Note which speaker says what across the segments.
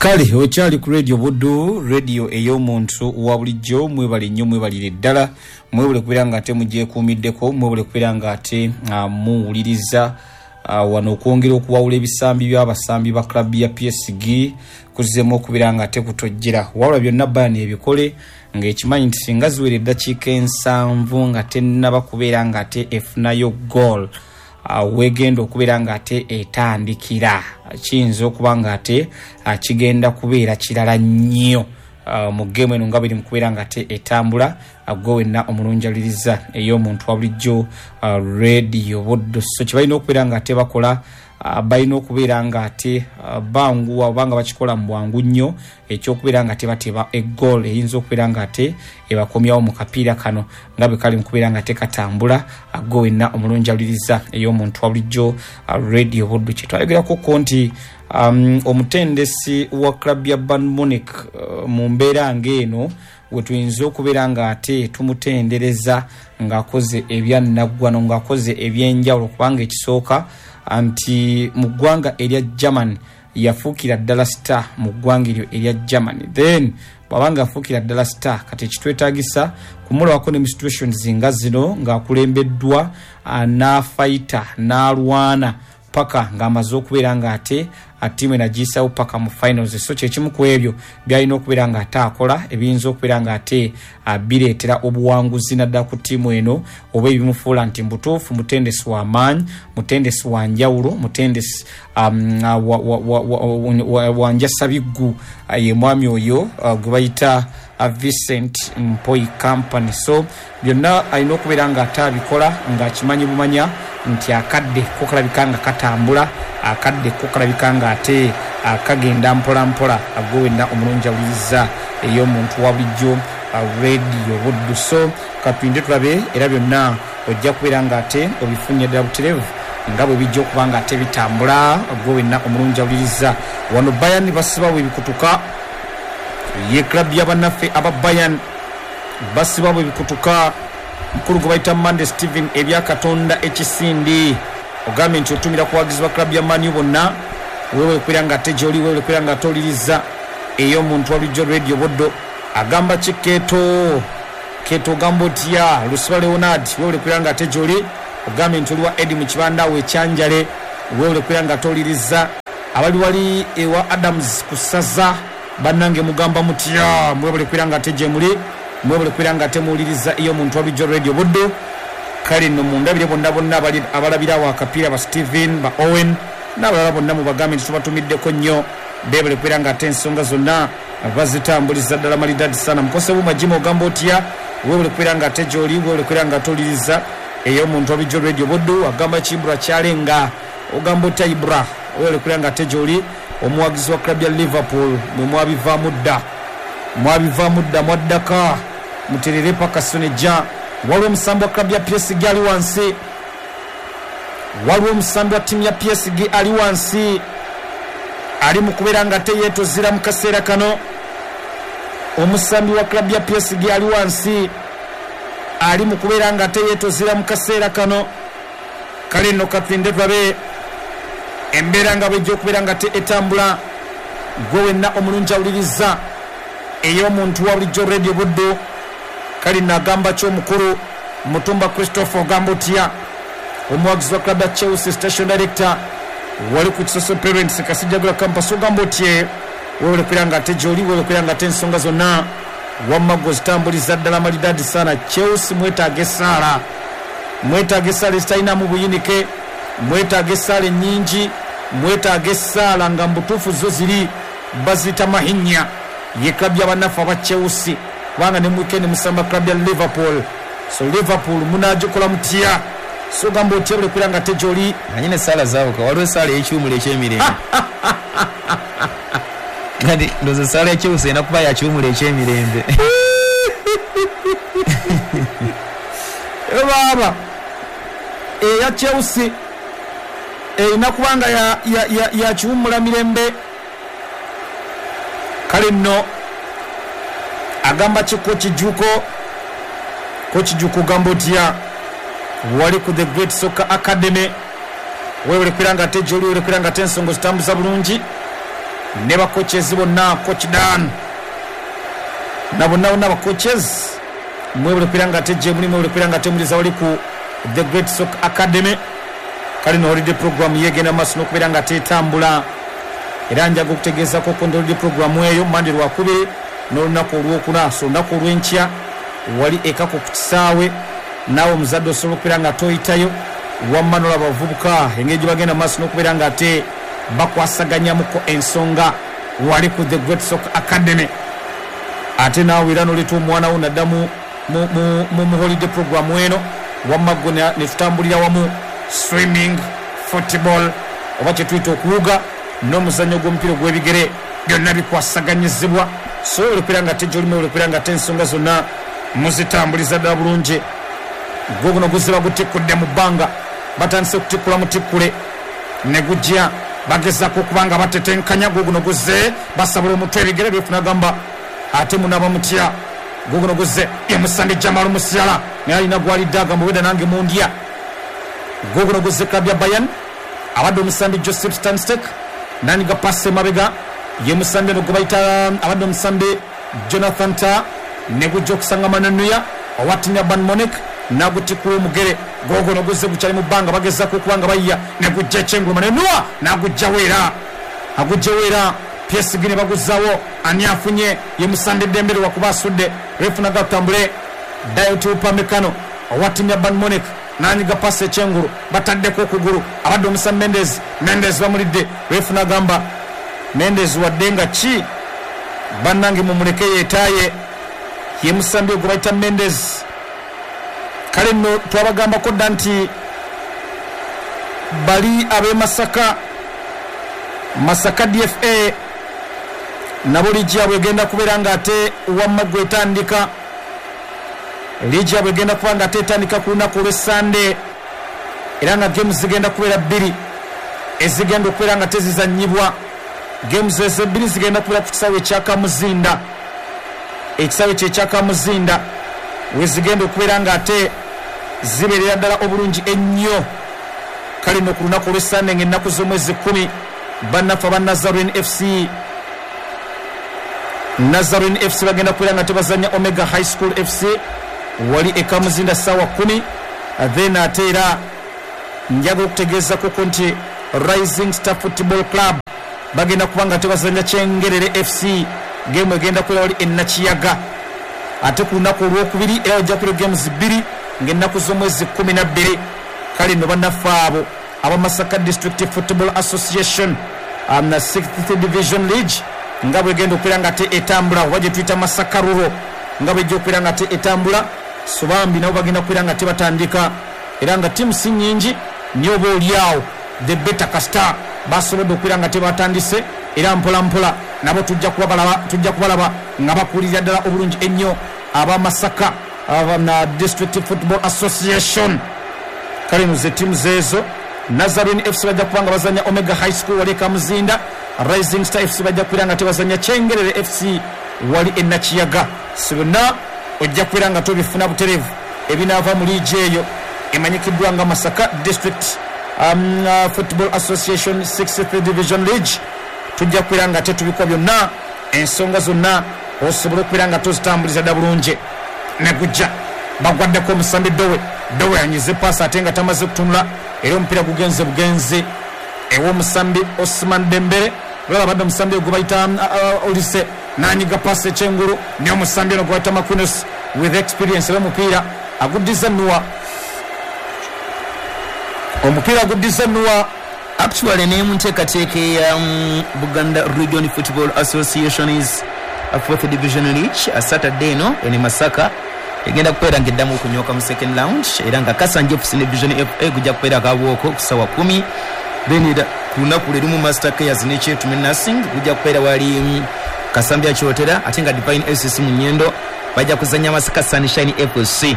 Speaker 1: Kale okyali ku Radio Buddu, radio ey'omuntu wa bulijjo. Mwebale nnyo, mwebalire ddala, mwebale kubeera nga ate mugyekuumiddeko, mwebale kubeera nga ate muwuliriza. Wano okwongera okuwawula ebisambi by'abasambi ba club ya PSG kuzzeemu okubeera nga ate kutojjera. Wabula byonna Bayern ebikole ng'ekimanyi nti singa ziwera eddakiika 70 nga tennaba kubeera nga ate efunayo goal, wegenda okubeera nga ate etandikira, kiyinza okuba nga ate kigenda kubeera kirala nnyo mu geemu eno nga biri mu kubeera nga ate etambula. Gwe wenna omulungi awuliriza ey'omuntu wa bulijjo Radio Buddu, so kye balina okubeera nga ate bakola, balina okubeera nga ate banguwa oba nga bakikola mu bwangu nnyo ekyokubeera nga tebateba egoal eyinza okubeera nga ate ebakomyawo mu kapiira kano nga bwe kali mu kubeera nga tekatambula. Gwe wenna omulungi awuliriza ey'omuntu wa bulijjo Radio Buddu, kye twayogerako ko nti omutendesi wa club ya Bayern Munich, mu mbeera ng'eno we tuyinza okubeera nga ate tumutendereza ng'akoze ebyannaggwano, ng'akoze ebyenjawulo, kubanga ekisooka nti mu ggwanga erya Germany yafuukira ddala star mu ggwanga eryo erya Germany. Then bw'aba nga afuukira ddala star, kati ekitwetaagisa kumulabako ne mu situations nga zino ng'akulembeddwa n'afayita n'alwana paka ng'amaze okubeera nga ate ttiimu eno agiyisawo paka mu finals. So kyekimu ku ebyo byalina okubeera nga ate akola ebiyinza okubeera nga ate bireetera obuwanguzi naddala ku ttiimu eno, oba ebimufuula nti mbutuufu mutendesi wa maanyi, mutendesi wa njawulo, mutendesi wa njasabiggu. Ye mwami oyo gwe bayita Vincent Mpoi Company. So byonna alina okubeera nga ate abikola ng'akimanyi bumanya nti akadde ko kalabika nga katambula, akadde ko kalabika nga ate kagenda mpola mpola. Gwe wenna omulungi awuliriza ey'omuntu wa bulijjo Radio Buddu, so katulinde tulabe, era byonna ojja kubeera nga ate obifunye ddala butereevu nga bwe bijja okuba nga ate bitambula. Gwe wenna omulungi awuliriza, wano Bayern basibawo ebikutuka. Ye club ya bannaffe aba Bayern basibawo ebikutuka. Mukulu gwe bayita Monday Steven Ebyakatonda ekisindi, ogambye nti otumira ku bawagizi ba club ya Man U bonna. Weewale kubeera nga ate gy'oli, weewale kubeera nga ate owuliriza ey'omuntu wa bulijjo Radio Buddu. Agamba ki Keeto? Keeto ogamba otya? Lusiba Leonard, weewale kubeera nga ate gy'oli. Ogambye nti oli wa Eddie mu kibanda awo ekyanjale, weewale kubeera nga ate owuliriza. Abali wali ewa Adams ku ssaza, bannange mugamba mutya? Mwebale kubeera nga ate gyemuli, mwebale kubeera nga ate muwuliriza ey'omuntu wa bulijjo Radio Buddu. Kale nno mundabire bonna bonna abali abalabira awo akapiira, ba Steven, ba Owen n'abalala bonna, mubagambe nti tubatumiddeko nnyo. Beebale kubeera nga ate ensonga zonna bazitambuliza ddala malidadi sana. Mukose Buuma Jim, ogamba otya? Weebale kubeera nga ate gy'oli, weebale kubeera nga ate owuliriza ey'omuntu wa bulijjo Radio Buddu. Agamba ki Ibra Kyalenga? Ogamba otya Ibra? Weebale kubeera nga ate gy'oli. Omuwagizi wa club ya Liverpool, mwe mwabivaamu dda, mwabivaamu dda, mwaddaka muterere paka Sunejja. Waliwo omusambi wa club ya PSG ali wansi, waliwo omusambi wa ttiimu ya PSG ali wansi, ali mu kubeera nga ate yeetozira mu kaseera kano. Omusambi wa club ya PSG ali wansi, ali mu kubeera nga ate yeetozira mu kaseera kano. Kale nno katulinde tulabe embeera nga bw'ejja okubeera nga ate etambula. Ggwe wenna omulungi awuliriza ey'omuntu wa bulijjo Radio Buddu. Kale nno agamba ki omukulu Mutumba Christopher, ogamba otya? Omuwagizi wa club ya Chelsea, station director wali ku Kisoso Parents Kasijjagala Campus, ogamba otye? Weebale kubeera nga ate gy'oli, weebale kubeera nga ate ensonga zonna wamma ggwe ozitambuliza ddala malidaadi sana. Chelsea mwetaaga essaala. Mwetaaga essaala ezitalinamu buyinike, mwetaaga essaala ennyingi, mwetaaga essaala nga mu butuufu zo ziri baziyita mahinya. Ye club ya bannaffe aba Chelsea, kubanga ne mu weekend musamba club ya Liverpool. So Liverpool munaagikola mutya? So ogamba otya buli kubeera nga ate gy'oli?
Speaker 2: Omanyi n'essaala zaawuka, waliwo essaala ey'ekiwumulo eky'emirembe. Kati ndowooza essaala ya Chelsea erina kuba ya kiwumulo eky'emirembe.
Speaker 1: Baaba eya Chelsea erina kuba nga ya kiwummula mirembe. Kale nno agamba ki Coach Juuko? Coach Juuko ogamba otya? Wali ku The Great Soccer Academy. Weebale kubeera nga ate gy'oli, weebale kubeera nga ate ensonga ozitambuza bulungi. Ne ba coaches bonna, Coach Dan na bonna bonna ba coaches, mwebale kubeera nga ate gyemuli, mwebale kubeera nga ate muliza wali ku The Great Soccer Academy. Kale no holiday program yegenda maaso n'okubeera nga ate etambula, era njaga okutegeezako ko nti holiday program eyo Mande lwakubiri n'olunaku olwokuna, so olunaku olw'enkya wali ekako ku kisaawe, naawe omuzadde osobola okubeera nga ate oyitayo wamma n'olaba abavubuka engeri gye bagenda maaso n'okubeera nga ate bakwasaganyamuko ensonga wali ku The Great Soccer Academy. Ate naawe era n'oleeta omwana wo nadda mu mu mu mu holiday program eno, wamma ggwe ne tutambulira wamu swimming, football oba kye tuyita okuwuga n'omuzannyo gw'omupiira ogw'ebigere byonna bikwasaganyizibwa. So webale kubeera nga ate gy'oli, mwebale kubeera nga ate ensonga zonna muzitambuliza ddala bulungi. Gwo guno guziba gutikkudde mu bbanga, batandise kutikkula mutikkule ne gujja, bagezaako okuba nga batetenkanya. Gwo guno guzze, basabula omutwe ebigere, ref n'agamba ate munaba mutya. Gwo guno guzze, ye Musande Jamal Musiala naye alina gw'alidde agamba obwedda nange mundya. Gwo guno guzze club ya Bayern, abadde omusambi Josip Stanstek n'anyiga paasi emabega, ye musambi ono gwe bayita abadde omusambi Jonathan Tah ne gujja okusanga Manuel Neuer owa ttiimu ya Bayern Munich n'agutikkula omugere. Googono guzze gukyali mu bbanga, bagezaako okuba nga bayiya ne gujja ekyengulu, Manuel Neuer n'aguggyawo era aguggyewo era PSG ne baguzzaawo. Ani afunye? Ye musambi Dembele lwakuba asudde. Reef n'agamba tutambule. Dayot Upamecano owa ttiimu ya Bayern Munich n'anyiga paasi ekyengulu, bataddeko okugulu, abadde omusambi Mendes. Mendes bamulidde. Reef n'agamba Mendes wadde nga ki bannange mumuleke yeetaaye. Ye musambi oyo gwe bayita Mendes. Kale nno twabagambako dda nti bali ab'e Masaka, Masaka DFA nabo liigi yaabwe egenda kubeera nga ate wamma ggwe etandika. Liigi yaabwe egenda kuba nga ate etandika ku lunaku olw'e Ssande, era nga games zigenda kubeera bbiri ezigenda okubeera nga tezizannyibwa. Games ezo ebbiri zigenda kubeera ku kisaawe ekya Kamuzinda. Ekisaawe kye ekya Kamuzinda wezigenda okubeera nga ate zibeerera ddala obulungi ennyo. Kale nno ku lunaku olw'e Ssande nga ennaku z'omwezi kkumi, bannaffe aba Nazarene FC, Nazarene FC bagenda kubeera nga tebazannya Omega High School FC wali e Kamuzinda ssaawa kkumi. Then ate era njagala okutegeezakoko nti Rising Star Football Club bagenda kuba nga tebazannya Kyengerere FC, geemu egenda kubeera wali e Nakiyaga. Ate ku lunaku olwokubiri era wajja kubeera games bbiri ng'ennaku z'omwezi 12. Kale nno bannaffe abo aba Masaka District Football Association Sixth Division League nga bwegenda okubeera nga ate etambula, oba gyetuyita Masaka Rural nga bwejja okubeera nga ate etambula, so bambi nabo bagenda kubeera nga ate batandika, era nga tiimu si nyingi naye oba olyagho the better kasita basobodde okubeera nga ate batandise, era mpola mpola nabo tujja kuba tujja kubalaba nga bakulirira ddala obulungi ennyo aba Masaka District Football Association. Kale eno ze ttiimu zeezo. Nazarene FC bajja kuba nga bazannya Omega High School wali e Kamuzinda. Rising Star FC bajja kubeera nga tebazannya Kyengerere FC wali e Nakiyaga. So byonna ojja kubeera nga tobifuna butereevu ebinaava mu liigi eyo emanyikiddwa nga Masaka District Football Association Sixth Division League. Tujja kubeera nga tetubikwa byonna, ensonga zonna osobole okubeera nga tozitambuliza dda bulungi. Ne gujja bagwaddeko omusambi Dowe. Dowe anyize paasi ate nga tamaze kutunula, era omupiira gugenze bugenzi ew'omusambi Osman Dembele. Olaba abadde omusambi oyo gwebayita Olise n'anyiga paasi ekyengulu, naye omusambi ono gwebayita Marquinhos with experience, era omupiira aguddiza Noah, omupiira aguddiza Noah.
Speaker 2: Actually ne mu nteekateeka eya Buganda Region Football Association's Fourth Division League, Saturday eno eno e Masaka egenda kubeera nga eddamu okunyooka mu second round era nga Kasanje FC ne Vision FA gujja kubeera Kabuoko ku saawa kumi, then era ku lunaku lwe lumu Master Cares ne Kyetume Nursing gujja kubeera wali Kasambya Kyotera, ate nga Divine SC mu Nyendo bajja kuzannya Masaka Sunshine FC.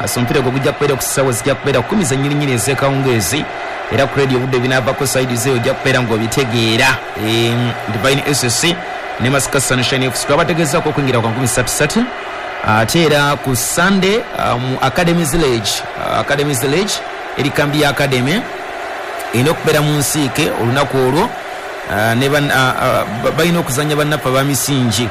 Speaker 2: So omupiira ogwo gujja kubeera ku ssaawa zijja kubeera kumi zennyininyini ez'ekawungeezi, era ku radio obudde binaavako sayidi ze ojja kubeera ng'obitegeera. Divine SC ne Masaka Sunshine FC twabategeezaako okwingira kwa nkumi ssatu ssatu. Ate era ku Sunday mu Academies League, Academies League eri kambi ya Academy erina okubeera mu nsiike olunaku olwo. Ne balina okuzanya bannaffe abamisingi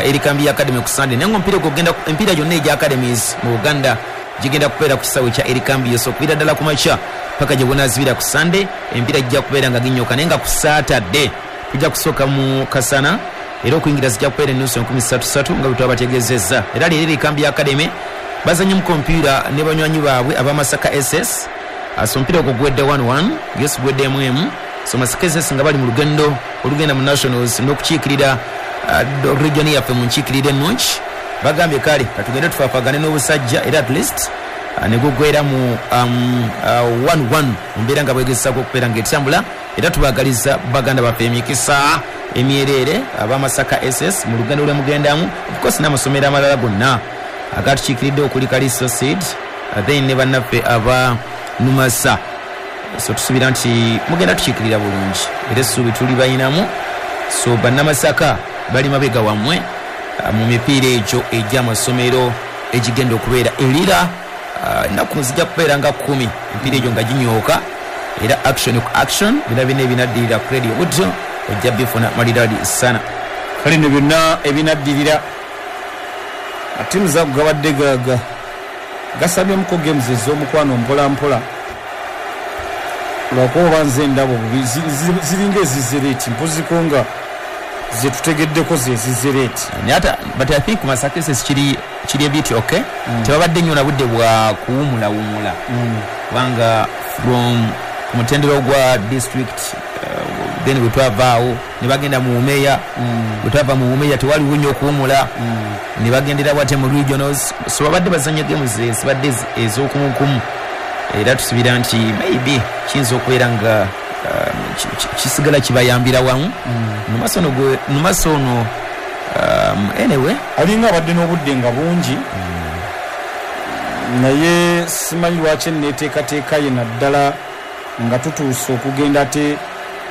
Speaker 2: Erikambi Academy ku Sunday, naye nga omupiira ogwo gugenda, emipiira gyonna egya academies mu Buganda gigenda kubeera ku kisaawe kya Erikambi. So okuviira ddala ku makya paka gye bunaazibira ku Sunday, emipiira gijja kubeera nga ginyoka, naye nga ku Saturday tujja kusooka mu kasana, era okuyingira zijja kubeera enusu 33,000 nga bwe twabategeezezza. Era leero Erikambi Academy bazanye mu kompiira ne banywanyi baabwe abamasaka SS. So omupiira ogwo guwedde 1-1, yes, guwedde 1-1. So Masaka SS nga bali mu lugendo olugenda mu nationals n'okukiikirira region yaffe mu nkiikirira ennungi, bagambye kale katugende tufaafagane n'obusajja, era at least ne gugwera mu 1-1 mu mbeera nga bwegezesaako okubeera ng'etambula. Era tubaagaliza baganda baffe emikisa emyereere abamasaka SS mu lugendo lwe mugendamu, of course n'amasomero amalala gonna agatukiikiridde okuli Kaliso Seed, then ne bannaffe aba Numasa. So tusuubira nti mugenda tukiikirira bulungi, era essuubi tuli bayinamu. So bannamasaka bali mabega wammwe mu mipiira egyo egy'amasomero egigenda okubeera erira ennaku zijja kubeera nga 10, emipiira egyo nga ginyooka, era action ku action bina bina ebinaddirira ku Radio Buddo ojja bifuna maliradi sana.
Speaker 1: Kale nno byonna ebinaddirira, tiimu zago gabadde gasabyemuko games ez'omukwano mpola mpola, lwakuba oba nze ndaba obubi, ziringa ezizereeti mpoziko nga zetutegeddeko zezizereeti.
Speaker 2: Naye ate but I think Masaka SS kiri a bit okay. Tebabadde nnyo na budde bwa kuwumulawumula, kubanga from ku mutendera gwa district, then bwe twavaawo ne bagenda mu umeya, bwe twava mu umeya tewaliwo nnyo okuwumula, ne bagendera bwate mu regionals. So babadde bazanya games ezibadde ez'okumukumu, era tusubira nti maybe kiyinza okubeera nga kisigala kibayambira wamu numaso ono. Anyway,
Speaker 1: alinga abadde n'obudde nga bungi, naye simanyi lwaki enneeteekateeka ye, naddala nga tutuuse okugenda ate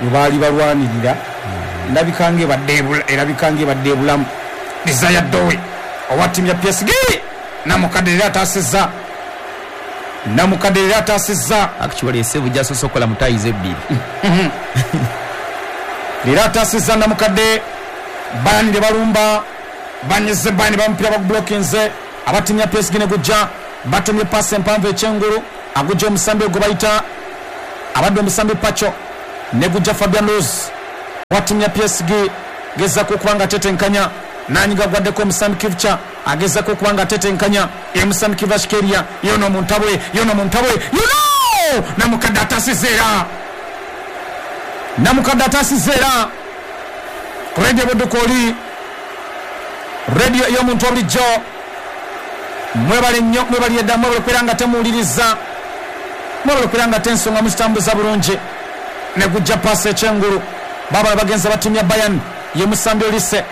Speaker 1: we baali balwanirira, erabika ng'ebadde ebulamu. Desire Dowe owa ttiimu ya PSG, namukadde era ataasizza, namukadde era ataasizza.
Speaker 2: Actually esevu gyasoose okukola mu tayizi ebbiri.
Speaker 1: Leero ataasizza namukadde. Bayani ne balumba, banyize Bayani, bamupiira bagublockinze aba ttiimu ya PSG, ne gujja batumye paasi empanvu ekyengulu, agujja omusambi ogwo bayita abadde omusambi Pacho, ne gujja Fabian Ruiz owa ttiimu ya PSG, gezaako okuba nga atetenkanya, nanyiga gwaddeko omusambi Kivcha, agezaako okuba nga atetenkanya emusambi Kivashkeria, yono muntabwe, yono muntabwe, yono namukadde ataasizza, era namukadde ataasizza. Era Radio Budukoli, radio ey'omuntu obulijjo, mwebale nnyo, mwebalire ddala, mwebale okubeera nga temuwuliriza, mwebale okubeera nga tensonga muzitambuza bulungi. Ne gujja paasi ekyengulu, babala bagenza batimya Bayern ye musambi Olise.